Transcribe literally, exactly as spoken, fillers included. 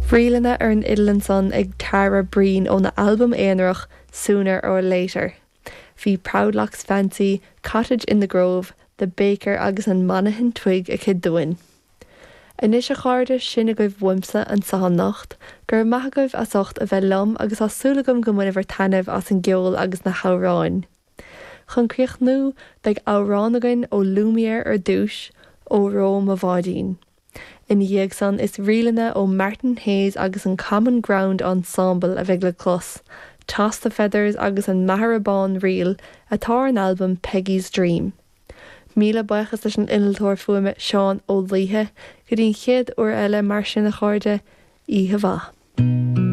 Ríleanna ar an fhidil ansan ag Tara Breen óna albam aonarach Sooner or Later. Bhí Proudlock's Fancy, Cottage in the Grove, The Baker agus an Monaghan Twig aici dúinn. Anois a chairde sin agaibh uaimse anseo anocht, gur maith agaibh as ucht a bheith liom agus tá súil agam go mbainfidh taitneamh as an gceol agus na hamhráin. Chun críochnú beidh amhrán againn ó Lumiere ar dtús Óró Mo Bháidín. Ina dhiaidh san is ríleanna ó Martin Hayes agus an Common Ground Ensemble a bheidh le clos. Toss the Feathers agus an Machaire Bán Ríl atá ar an albam Peggy's Dream. Míle buíochas leis an innealtóir fuaime Seán Ó Laoithe, go dtí an chéad uair eile mar sin a chairde oíche mhaith.